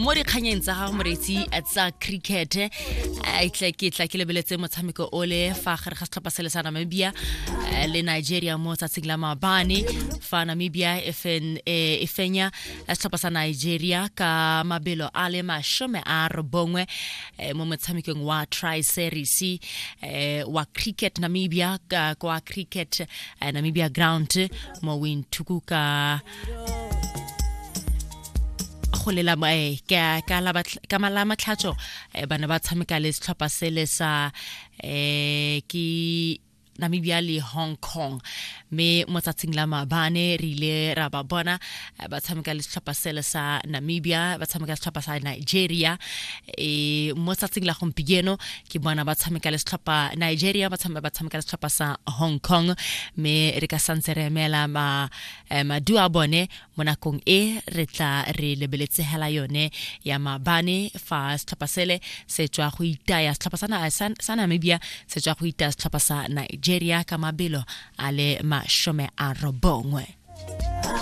Mo dikganyeng tsa gago moreetsi tsa cricket, tla ke tla ke lebeletse motshameko ole fa gare ga setlhopha se le sa Namibia le Nigeria mo tsatsing la maabane, fa Namibia e e fenya setlhopha sa Nigeria ka mabelo a le 90 mo motshamekong wa Tri Series wa cricket Namibia kwa Cricket Namibia Ground mo Windhoek ka go lela ka mala matlhatso. Bana ba tshameka le setlhopha sele sa ke Namibia le Hong Kong, mme mo tsatsing la maabane re ile ra ba bona ba tshameka le setlhopha sele sa Namibia, ba tshameka le setlhopha sa Nigeria. Mo tsatsing la gompieno ke bona ba tshameka le setlhopha Nigeria, ba tshameka le setlhopha sa Hong Kong, mme re ka santse re emela maduo a bone mo nakong e re tla re lebeletse hela yone ya maabane, fa setlhopha sele se tswa go itaya setlhopha sa Namibia, se tswa go itaya setlhopha sa Nigeria ka mabelo a le 90.